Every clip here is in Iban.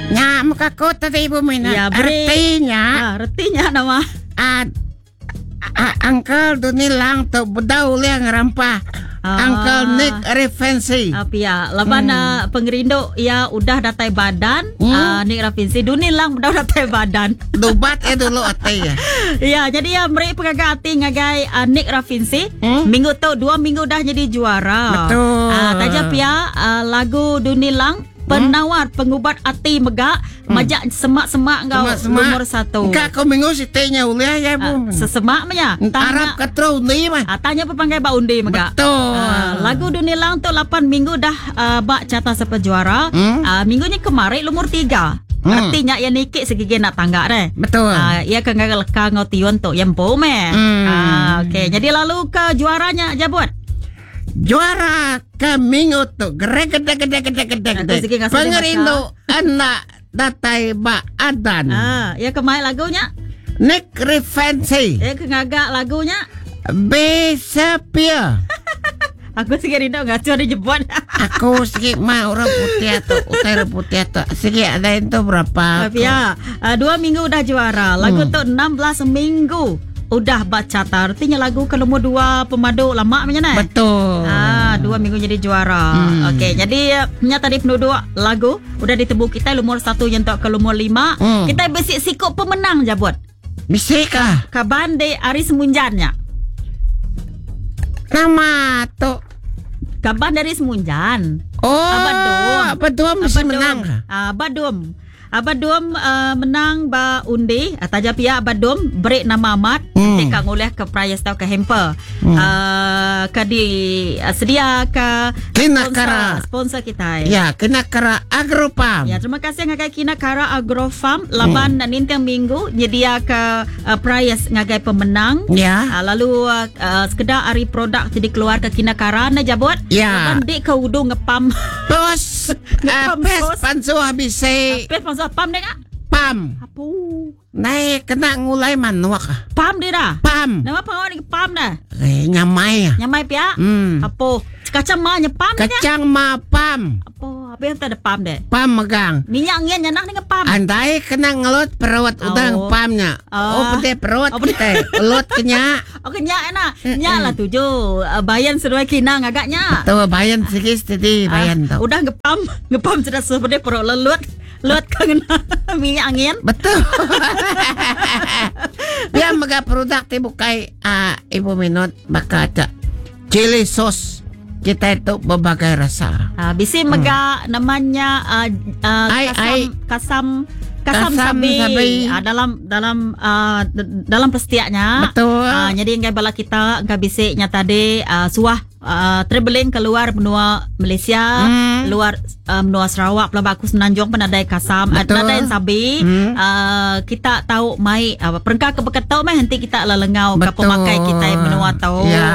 Nya muka aku tadi ibu minat. Ya, beri- Artinya Ah, reti nya nama? ah, ah, Uncle Duni Lang tu bedau ulih ngerampah Ah. Uncle Nick Refancy. Ah, pia. Laban hmm. pengerindu ia udah datai badan, hmm. Nick Rafinsi Duni Lang udah datai badan. Dubat eh dulu ati ya. Ya, jadi ya meri pengaga ati ngagai Nick Rafinsi. Minggu tu dua minggu dah jadi juara. Betul. Taja pia lagu Duni Lang penawar pengubat ati mega majak semak-semak enggau Semak-semak. nomor satu. Engka aku minggu siti nya ulih ya bu. Sesemak mah nya. Arap ke terus undi mah. Tanya pepanggai ba undi mega. Betul. Lagu Dunia Lang tu 8 minggu dah ba carta sepa juara. Minggu ni kemarin nomor 3. Artinya ia nikik segigi nak tangga deh. Betul. Ia ke ngaga leka ngau tiun tu yang empu meh. Okey, jadi lalu ke juaranya jabut. Juara ke minggu tu gere gede gede gede gede Aku gede. sikit ngasuh dia Pengerindu anak datai ba adan. Ia ke mai lagunya. Nick Refancy. Ia ke ngagak lagunya. Besepia. Aku sikit rindu ngacau dia jebot. Aku sikit mah orang putih atau utai orang putih atau sikit ada itu berapa? Tapi ya, 2 minggu udah juara. Lagu tu 16 minggu udah baca artinya lagu ke nombor 2 pemadu lama macam mana? Betul. 2 minggu jadi juara. Okey, jadi nya tadi penduduk lagu udah ditemu kita nomor 1 nyentuk ke nomor 5. Kita besik sikop pemenang jabut. Bisik ah. Kaban de Ari Semunjannya. Nama tu. Kaban dari Semunjan. Oh, Abadum. Abadum mesti menang. Abadum. Abadum menang ba undi. Taja pihak Abadum beri nama Ahmad. Nanti kang oleh ke prize tau ke hamper. Ke di sedia ke Kina sponsor, Kara. sponsor kita. Ya, kena kara Agrofarm. Ya, terima kasih ngagai Kina Kara Agrofarm laban ninting minggu nyedia ke prize ngagai pemenang. Ya. Lalu sekedar hari produk ti dikeluar ke Kina Kara na jabut. Ya. Laban dik ke udung ngepam. Pos Ngepam pes sos. pansu habis Pes pansu pam dek ah? Pam. Apa? Naik kena ngulai manuak. Pam dia dah. Pam. Nama pangawak ni pam dah. Nyamai ah. Nyamai pia? Apa? Kacang ma nyepam dia? Kacang ma pam. Apa? Apa yang tak ada pam dek? Pam megang. Minyak ngin nyanah ni ngepam. Andai kena ngelut perut udah Oh. ngepamnya. Oh, pedih perut Oh, kita. Elut kenya. Oh, kenyak enak. Nyak lah tujuh. Bayan seduai kinang agaknya. Tuh bayan sikit tadi bayan tu. Udah ngepam, ngepam sudah seperti perut lelut. Lut kena minyak angin. Betul. Dia mega produk ti bukai ibu minut maka ada chili sauce. Kita itu berbagai rasa. Bisi mega namanya Ai, kasam, ai. kasam, kasam Kasam sabi. sabi. Dalam pestiaknya. Betul. Jadi enggai bala kita enggai bisiknya tadi suah traveling keluar benua Malaysia, luar benua Sarawak, pelabak aku Semenanjung pun ada kasam, Betul. ada yang sabi. Kita tahu mai perengkah ke beketau mai nanti kita lelengau ke Betul. pemakai kita yang benua tahu. Ya.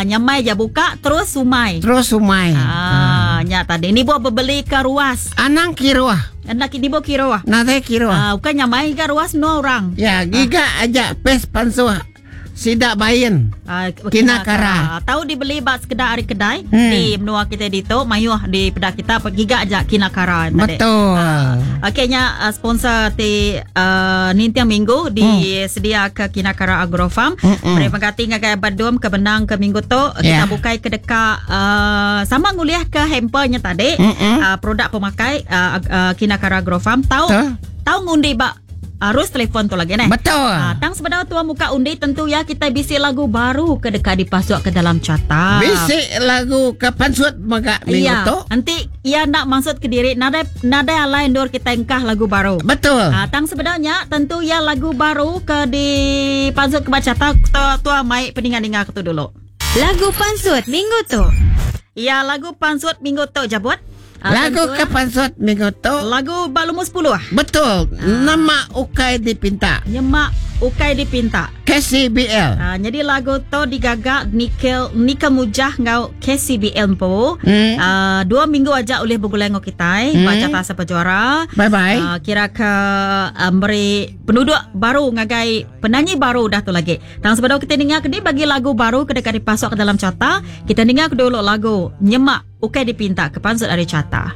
Nyamai je buka terus sumai. Terus sumai. Nya tadi ni buat berbeli ke ruas. Anang kiruah. Anak ni buat kiruah. Nanti kiruah. Bukan nyamai ke ruas no orang. Ya, giga aja pes pansuah. Sidak bayin. Kina kara. Tahu dibeli bak sekedar hari kedai di menua kita di tu mayuh di pedak kita giga aja kina kara tadi. Betul. Okeynya sponsor ti nintiang minggu disedia ke Kina Kara Agrofarm. Terima kasih ngagai Abadum ke benang ke minggu tu. Kita Ya. bukai ke dekat sama nguliah ke hampernya tadi. Produk pemakai Kina Kara Agrofarm. Tahu Betul. tahu ngundi bak arus telefon tu lagi neh. Betul. Tang sebenar tua muka undi tentu ya kita bisi lagu baru ke dekat dipasuk ke dalam carta. Bisi lagu ke pansut mega minggu Iya. tu. Nanti ia nak masuk ke diri nadai nadai alai ndur kita engkah lagu baru. Betul. Tang sebenarnya tentu ya lagu baru ke di pansut ke baca tua, tua mai peningan-ningan ke tu dulu. Lagu pansut minggu tu. Ya lagu pansut minggu tu jabut. Lagu tentu ke pansut minggu tu. Lagu Balumus 10. Betul. Nama ukai dipinta. Nyemak ukai dipinta. KCBL. Jadi lagu tu digagak Nickel Mujah ngau KCBL po. 2 minggu aja oleh bergulai ngau kita baca tasa pejuara. Bye bye. Kira ke beri penduduk baru ngagai penyanyi baru dah tu lagi. Tang sebab kita dengar ke bagi lagu baru ke dekat dipasuk ke dalam carta, kita dengar ke dulu lagu Nyemak Ukai Dipinta ke pansut dari carta.